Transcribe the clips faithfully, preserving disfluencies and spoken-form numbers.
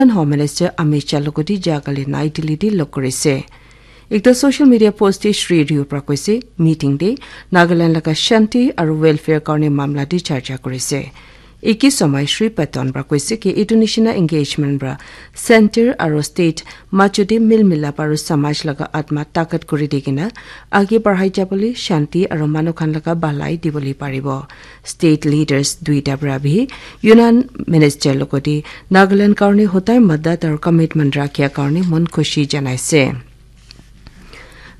Home Minister Amit Shah logoti jakali Nai Delhi di log korise. Ekta social media post te Shri Ryu pra koise, meeting te Nagaland laga shanti aru welfare karne mamla te charcha korise. Eki somoi Shri Patton pra koise ki etu nishina engagement pra center aru state majo te mil milap aru samaj laga atma takat kuri di kena age barhai jabole shanti aru manu khan laga bhalai dibole paribo. State leaders duita pra bhi Union Minister logoti Nagaland karne hotai madat aru commitment rakhia karne mon khushi janaise.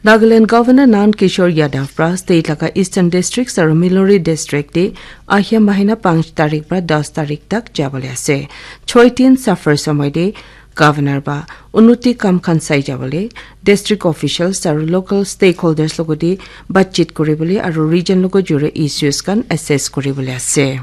Nagaland Governor Nand Kishore Yadav pra state laga Eastern Districts aru Milori District te ahia mahina panch tarik pra das tarik tak jabole ase. Choi tin safar somoi te Governor ba unnoti kam khan sai jabole district officials aru local stakeholders logoti batchit kuribole aru region logo jure issues khan assess kuribole ase.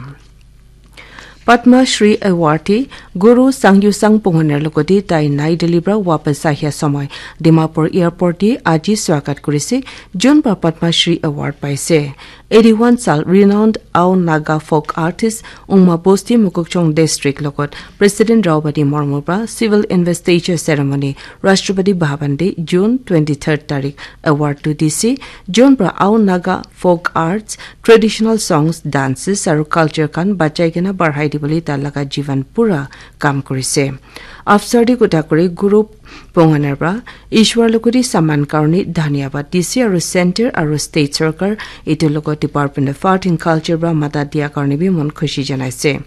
Padma Shri Awardee Guru Sangyusang Punganer logoti tai Nai Delhi pra wapas ahia somoi Dimapur Airport te aji swagat kurise, jun pra Padma Shri Award paise. Eighty-one sal renowned Ao Naga folk artist Ungma Bosti Mokokchung District logot President Draupadi Murmu pra civil investiture ceremony Rashtrapati Bhavan te June twenty-third tarik award tu dise. Jun pra Ao Naga folk arts, traditional songs, dances aru culture khan bachai kena barhai dibole ta laga jivan pura kam kurise. Afsar di kotha kuri Guru Ponganer pra Ishwar logoti saman karni dhanyabad dise aru center aru state sarkar etu logo Department of Art and Culture pra mata dia karni bi mon khushi janaise.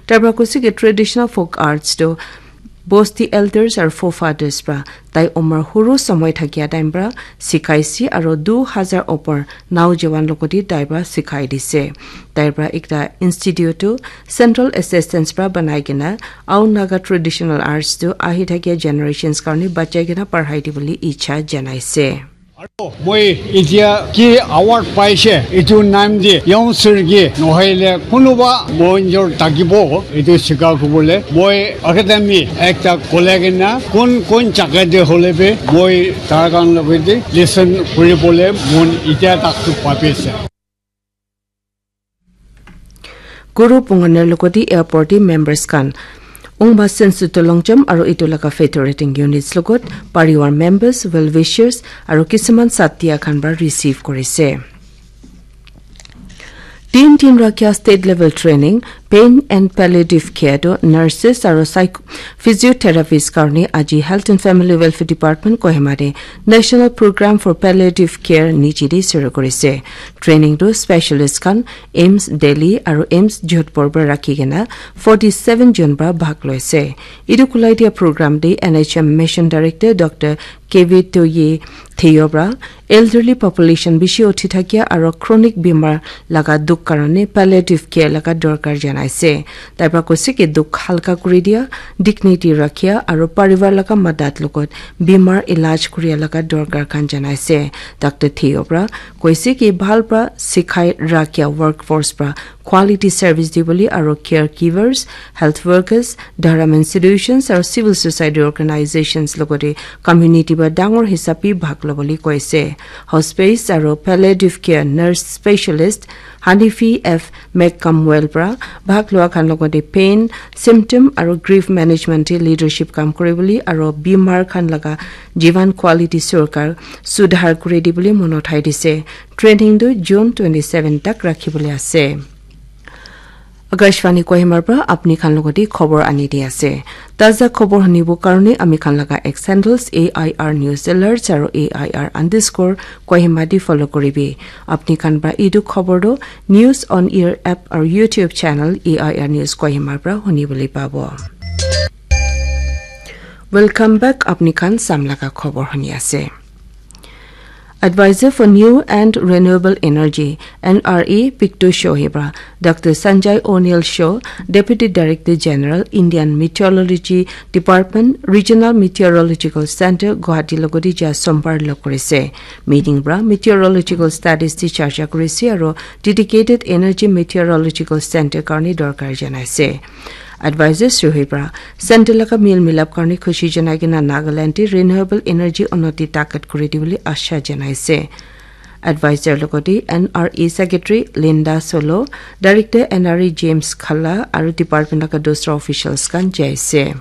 Tar pra koise ki traditional folk arts to bosti elders aru forefathers pra tai umar huru somoi thakia time pra sikaise aru du hazar opor naujawan logoti tai pra sikai dise. Tai pra ekta institute to central assistance pra banai kena Ao Naga traditional arts tu ahi thakia generations karni bachai kena parhai dibole icha janaise. Aru moi etia ki award paise, etu naam de youngster ki nohoile kunuba monjor thakibo, etu sika kobole moi academy ekta khole kena kun kun jaga de hole bi moi tar khan logote listen kuribole mon etia tak tu pabi ase. Guru Punganer logoti airport te members khan Ungma Sensu Tolongjam aru etu laga federating units logot pariwar members, well wishers aru kisuman satya khan pra receive kurise. Tin tin rakhia state level training, pain and palliative care to nurses aru psych physiotherapists karni aji Health and Family Welfare Department Kohima te National Program for Palliative Care niche te shuru kurise. Training tu specialist khan AIIMS Delhi aru AIIMS Jodhpur pra rakhi kena forty seven jon pra bhag loise. Etu khulai dia program te N H M Mission Director Doctor K V Toye Theo pra elderly population bishi uthi thakia aru chronic bimar laga dukh karone palliative care laga dorkar janaise. Tai pra koise ki dukh halka kuri dia, dignity rakhia aru parivar laga madat logot bimar ilaj kuria laga dorkar khan janaise. Doctor Theo pra koise ki bhal pra sikhai rakhia workforce pra quality service dibole aru caregivers, health workers, dharam institutions aru civil society organizations logote community pra dangor hisab bi bhag lobole koise. Hospice aru palliative care nurse specialist Hanifi F McCamwell pra bhag lua khan logote pain, symptom aru grief management te leadership kam kuribole aru bimar khan laga jivan quality sorkar sudhar kuri dibole mon uthai dise. Training tu June twenty seven tak rakhibole ase. Akashvani Kohimar pra apni khan logote khobor ani di ase. Taza khobor hunibo karone ami khan laga X handles A I R News Alerts aru A I R underscore Kohima di follow kuribi. Apni khan pra etu khobor tu News on Air app aru YouTube channel A I R News Kohima pra hunibole pabo. Welcome back, apni khan sam laga khobor huni ase. Advisor for New and Renewable Energy, N R E, Picto Shohei pra Doctor Sanjay O'Neill Show, Deputy Director General, Indian Meteorology Department, Regional Meteorological Center, Guwahati logote ja Sombar log kurise. Meeting pra meteorological studies te charcha kurise aru dedicated Energy Meteorological Center karne dorkar janaise. Advisor Shohei pra center laga mil milap karne khushi janai kena Nagaland te renewable energy unnoti takat kuri dibole asha janaise. Advisor logote N R E Secretary Linda Solo, Director N R E James Khalla aru department laga dusra officials khan jaise.